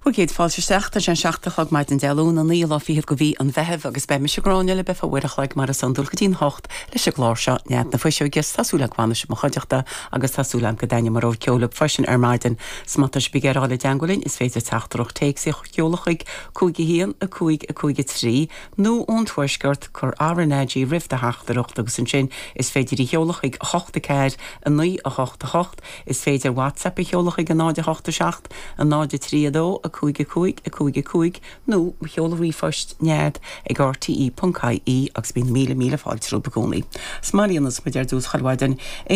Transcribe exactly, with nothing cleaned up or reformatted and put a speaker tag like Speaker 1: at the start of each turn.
Speaker 1: Bhur gcéad fáilte isteach tá sé an seacht a chlog maidin Dé Luain an naoú lá fichead de mhí an Mheithimh agus beidh mise Gráinne libh ar feadh uair a chloig mar is iondúil go dtí'n hocht leis an gclár seo Nead na Fuiseoige tá súil agam go bhfanfaidh sibh i mo chuideachta agus tá súil agam go dtaitneoidh mo rogha ceoil libh freisin ar maidin. 'S má tá sibh ag iarraidh dul i dteagmháil linn is féidir teachtaireacht téacs a sheoladh chuig cúig a haon a cúig a cúig a trí nó ón tuaisceart cuir RnaG roimh do theachtaireacht agus ansin is féidir í a sheoladh chuig a hocht a ceathair a naoi a hocht a hocht is féidir WhatsApp a sheoladh chuig a náid a hocht a seacht a náid a trí a dó a cúig a cúig a cúig a cúig nó seol ríomhphost nead ag RTE.ie agus bíonn míle míle fáilte romhaibh i gcónaí. Smailíonn muid ar dtús chuile mhaidin.